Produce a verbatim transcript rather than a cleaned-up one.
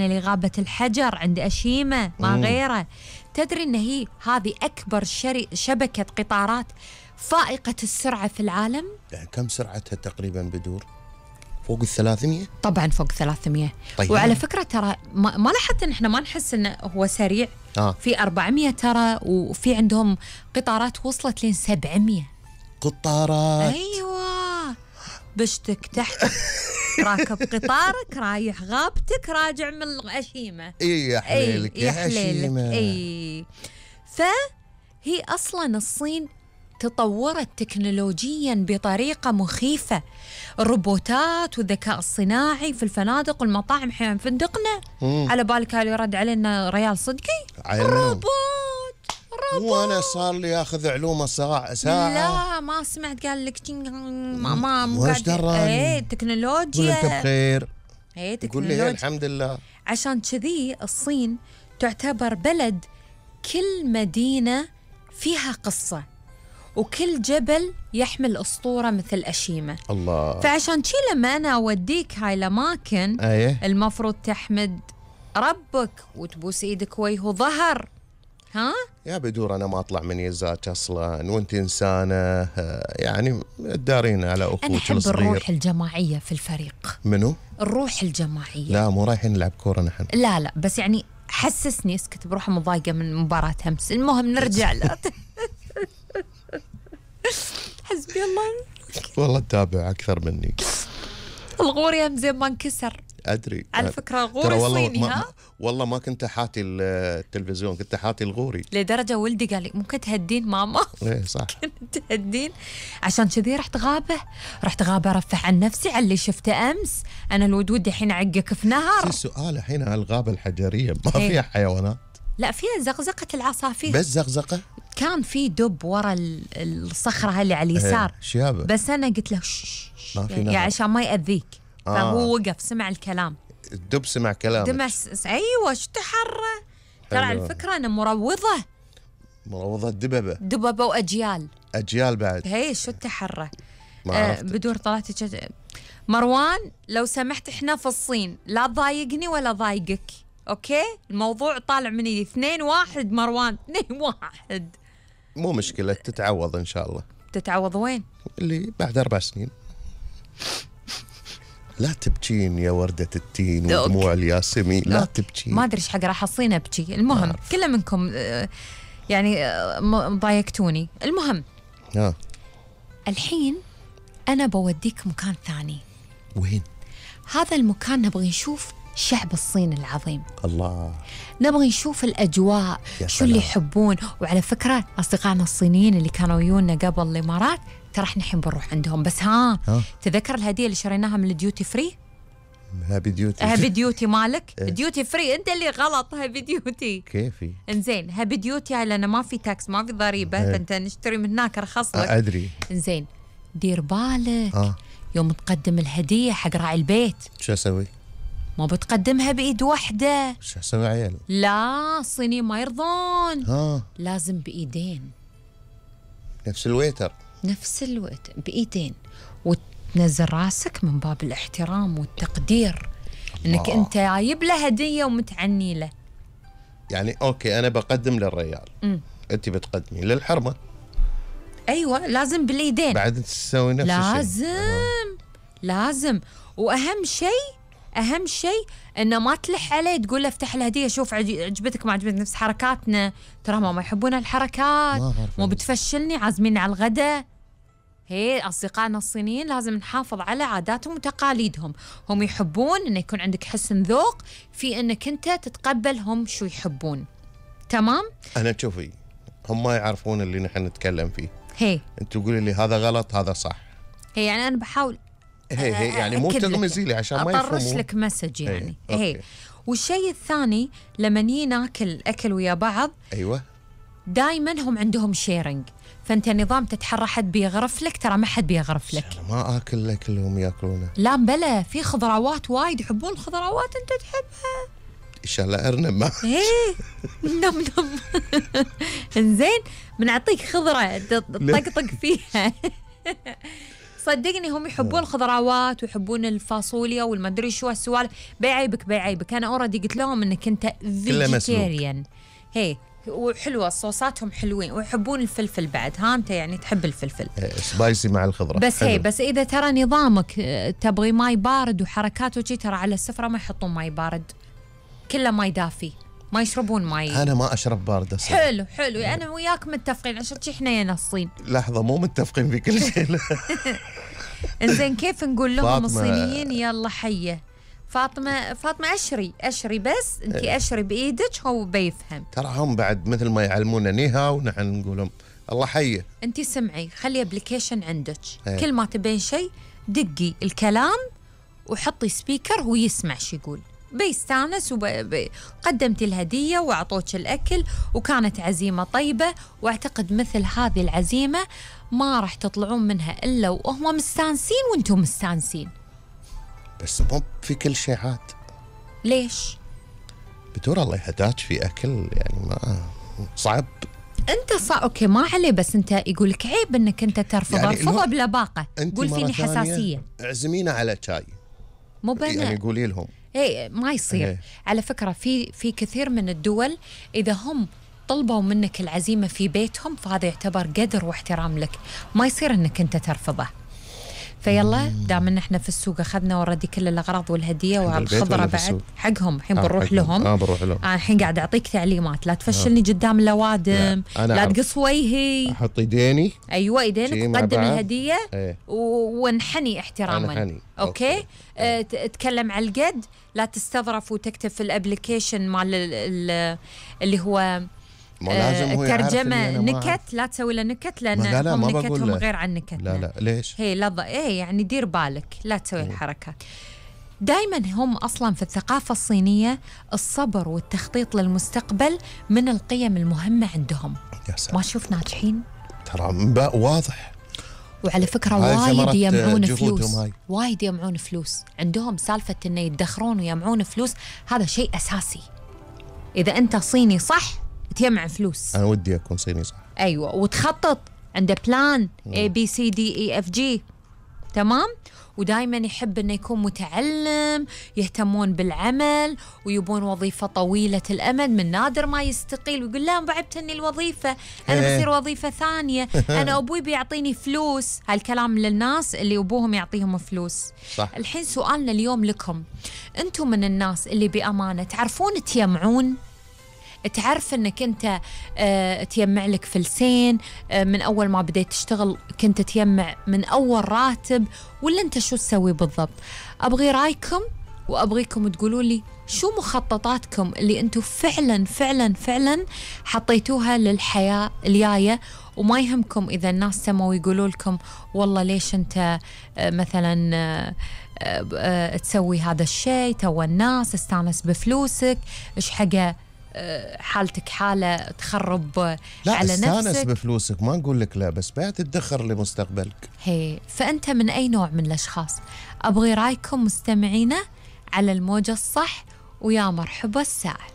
لغابة الحجر عند أشيمة ما مم. غيره. تدري أن هي هذه أكبر شري شبكة قطارات فائقة السرعة في العالم؟ يعني كم سرعتها تقريبا بدور؟ فوق الثلاثمية؟ طبعا فوق ثلاثمية. طيب. وعلى فكرة ترى ما, ما لاحظت ان احنا ما نحس انه هو سريع. آه. في أربعمية ترى، وفي عندهم قطارات وصلت لين سبعمية قطارات. ايوه، بشتك تحت راكب قطارك رايح غابتك راجع من أشيمة. اي يا حليلك اي يا حليلك. أشيمة. اي فهي اصلا الصين تطورت تكنولوجيا بطريقة مخيفة. الروبوتات والذكاء الصناعي في الفنادق والمطاعم. حين فندقنا مم. على بالك اللي يرد علينا ريال صدقي علمهم. روبوت روبوت. وانا صار لي ياخذ علومه ساعه ساعه. لا ما سمعت قال لك ما ما مو وش قاعد. دراني؟ ايه تكنولوجيا. قول انت بخير. ايه يقول لي تكنولوجيا. الحمد لله. عشان كذي الصين تعتبر بلد كل مدينة فيها قصة، وكل جبل يحمل أسطورة مثل أشيمة. الله. فعشان شي لما أنا أوديك هاي الأماكن ايه المفروض تحمد ربك وتبوس إيدك وجه وظهر. ها؟ يا بدور انا ما اطلع من يزاك اصلا، وانت انسانه آه، يعني تدارين على أنا اخوك أحب الصغير. الروح الجماعية في الفريق. منو؟ الروح الجماعية. لا مو رايحين نلعب كوره نحن. لا لا بس يعني حسسني. اسكت بروح مضايقة من مباراة أمس. المهم نرجع لا حسبي الله. والله تتابع اكثر مني. الغور يا زين ما انكسر. ادري على فكرة ترى غوري والله صيني. ما ها؟ والله ما كنت حاتي التلفزيون، كنت حاتي الغوري. لدرجة ولدي قال لي ممكن تهدين ماما. ايه صح. تهدين. عشان كذي رحت غابة. رحت غابة ارفع عن نفسي على اللي شفته امس. انا الودود الحين اعقك في نهر. في سؤال الحين على الغابه الحجريه ما إيه. فيها حيوانات؟ لا فيها زقزقة العصافير. بس زقزقه. كان في دب ورا ال- الصخرة هاي اللي على اليسار. إيه. شيابه. بس انا قلت له شش ما في يعني نهر. عشان ما يأذيك. آه. فهو وقف سمع الكلام. الدب سمع كلامك. دمس. ايوه شو تحرى. ترى على حلو. فكرة انا مروضة مروضه دببه. دببة واجيال. اجيال بعد. هي شو التحرى. ما آه عرفت. بدور طلعت جد... مروان لو سمحت احنا في الصين لا تضايقني ولا ضايقك. اوكي الموضوع طالع مني اثنين واحد مروان اثنين واحد. مو مشكله تتعوض ان شاء الله. تتعوض وين؟ اللي بعد اربع سنين. لا تبكين يا وردة التين أوكي. ودموع الياسمين، لا أوكي. تبكين. ما ادري ايش حق راح اصين ابكي. المهم كل منكم آه، يعني آه، م- ضايقتوني. المهم ها الحين انا بوديك مكان ثاني. وين؟ هذا المكان نبغي نشوف شعب الصين العظيم. الله. نبغي نشوف الأجواء يا شو اللي سلام. يحبون. وعلى فكرة أصدقائنا الصينيين اللي كانوا ويونا قبل الإمارات ترى احنا الحين بنروح عندهم. بس ها, ها؟ تذكر الهدية اللي شريناها من الديوتي فري؟ هابي ديوتي. هابي ديوتي مالك. إيه. ديوتي فري أنت اللي غلط. هابي ديوتي. كيفي؟ إنزين هابي ديوتي هاي لأنه ما في تاكس ما في ضريبة. إيه. فأنت نشتري من هناك رخص لك. ادري. إنزين دير بالك اه يوم تقدم الهدية حق راعي البيت شو اسوي؟ ما بتقدمها بإيد واحدة. شو اسوي عيال؟ لا الصينيين ما يرضون. ها لازم بإيدين. نفس الويتر. نفس الوقت بإيدين. وتنزل راسك من باب الاحترام والتقدير. انك الله. انت جايب له هديه ومتعني له. يعني اوكي انا بقدم للريال. امم انت بتقدمي للحرمه. ايوه لازم بالايدين. بعد تسوي نفس الشيء. لازم لازم. واهم شيء اهم شيء انه ما تلح عليه تقول له افتح الهديه شوف عج- عجبتك ما عجبتك نفس حركاتنا. ترى ما ما يحبون الحركات. ما أعرف مو أنا. بتفشلني عازمين على الغداء. هي أصدقائنا الصينيين لازم نحافظ على عاداتهم وتقاليدهم. هم يحبون إنه يكون عندك حسن ذوق في إنك أنت تتقبلهم شو يحبون. تمام؟ انا تشوفي هم ما يعرفون اللي نحن نتكلم فيه. هي انت تقولي لي هذا غلط هذا صح. هي يعني أنا بحاول هي هي يعني مو أكد لك. تغمزي لي عشان ما أطرش يفهمون. لك مسج يعني. هي. هي أوكي. والشيء الثاني لما نيجي ناكل أكل ويا بعض ايوه دائما هم عندهم شيرنج. فأنت نظام تتحرى حد بيغرف لك ترى ما حد بيغرف لك. انا ما اكل الاكل اللي هم ياكلونه. لا بلا في خضروات وايد يحبون الخضروات أنت تحبها. ان شاء الله ارنب ما. ايه نم نم. انزين بنعطيك خضره تطقطق فيها. صدقني هم يحبون الخضروات ويحبون الفاصوليا والمدري شو هالسوالف. بيعيبك بيعيبك أنا أوريدي قلت لهم إنك أنت فيجيتيريان. هي وحلوة صوصاتهم حلوين ويحبون الفلفل بعد. ها أنت يعني تحب الفلفل سبايسي مع الخضرة بس. حلو. هي بس إذا ترى نظامك تبغي ماي بارد وحركات وشي، ترى على السفرة ما يحطون ماي بارد، كله ماي دافي، ما يشربون ماي. أنا ما أشرب بارد أصلاً. حلو حلو أنا وياك متفقين عشان شي إحنا يا الصين. لحظة مو متفقين في كل شيء. إنزين كيف نقول لهم فاطمة- الصينيين يلا حية فاطمة فاطمة أشري أشري بس أنتي أشري بإيدك هو بيفهم. ترى هم بعد مثل ما يعلمونا نيها ونحن نقول لهم الله حية. أنتي سمعي خلي أبليكيشن عندك، ايه. كل ما تبين شيء دقي الكلام وحطي سبيكر ويسمع شو يقول، بيستانس. وقدمتي الهدية وأعطوك الأكل وكانت عزيمة طيبة، وأعتقد مثل هذه العزيمة ما راح تطلعون منها إلا وهم مستانسين وأنتم مستانسين. بس مو في كل شيء عاد. ليش؟ بدور الله يهداك في أكل يعني ما صعب. انت صا اوكي ما عليه، بس انت يقول لك عيب انك انت ترفض. يعني ارفضه لو- بلباقه، قول فيني حساسيه. اعزمينا على شاي مو بنا يعني قولي لهم. اي ما يصير. إيه. على فكره في في كثير من الدول اذا هم طلبوا منك العزيمه في بيتهم فهذا يعتبر قدر واحترام لك، ما يصير انك انت ترفضه. فيلا دام ان احنا في السوق اخذنا وردي كل الاغراض والهديه والخضره ولا في بعد السوق؟ حقهم. الحين آه، بنروح حقهم. لهم. اه بروح لهم. انا الحين قاعد اعطيك تعليمات، لا تفشلني قدام الاوادم، لا، أنا لا أعرف. تقص وجهي. احط ايديني. ايوه شي ايدينك مع وقدم بعض. الهديه ايه. و- وانحني احتراما. أنحني. اوكي, أوكي. أه ت- تكلم على القد، لا تستظرف وتكتب في الابلكيشن مال ال- ال- اللي هو ما لازم هو يعرف الترجمه إني أنا ما أعرف. نكت، لا تسوي له نكت لان ما لا لا هم ما بقول نكتهم له. غير عن نكتنا. لا لا ليش؟ هي لظى ايه يعني دير بالك لا تسوي الحركات. دائما هم اصلا في الثقافه الصينيه الصبر والتخطيط للمستقبل من القيم المهمه عندهم. يا سلام. ما شوف ناجحين. ترى مبا- واضح. وعلى فكرة هاي وايد ثمرة يجمعون جهودهم فلوس، هاي. وايد يجمعون فلوس، عندهم سالفة إنه يدخرون ويجمعون فلوس، هذا شيء أساسي. إذا أنت صيني صح تجمع فلوس. انا ودي اكون صيني صح. أيوة وتخطط، عنده بلان A B C D E F G. تمام. ودائما يحب انه يكون متعلم، يهتمون بالعمل ويبون وظيفه طويله الامد، من نادر ما يستقيل ويقول لا بعبتني الوظيفه انا إيه. بصير وظيفه ثانيه، انا ابوي بيعطيني فلوس. هالكلام للناس اللي ابوهم يعطيهم فلوس. صح. الحين سؤالنا اليوم لكم، انتم من الناس اللي بامانه تعرفون تجمعون؟ تعرف انك انت آه تجمع لك فلسين آه من اول ما بديت تشتغل كنت تجمع من اول راتب، ولا انت شو تسوي بالضبط؟ ابغي رايكم وابغيكم تقولوا لي شو مخططاتكم اللي انتم فعلا فعلا فعلا حطيتوها للحياه الجايه، وما يهمكم اذا الناس سموا ويقولوا لكم والله ليش انت آه مثلا آه آه تسوي هذا الشيء، تو الناس استانس بفلوسك، ايش حاجه حالتك حالة تخرب لا على استانس نفسك. بفلوسك ما نقول لك لا، بس بعد تدخر لمستقبلك. هي فأنت من أي نوع من الأشخاص؟ أبغي رأيكم مستمعينا على الموجة الصح، ويا مرحبا الساعة.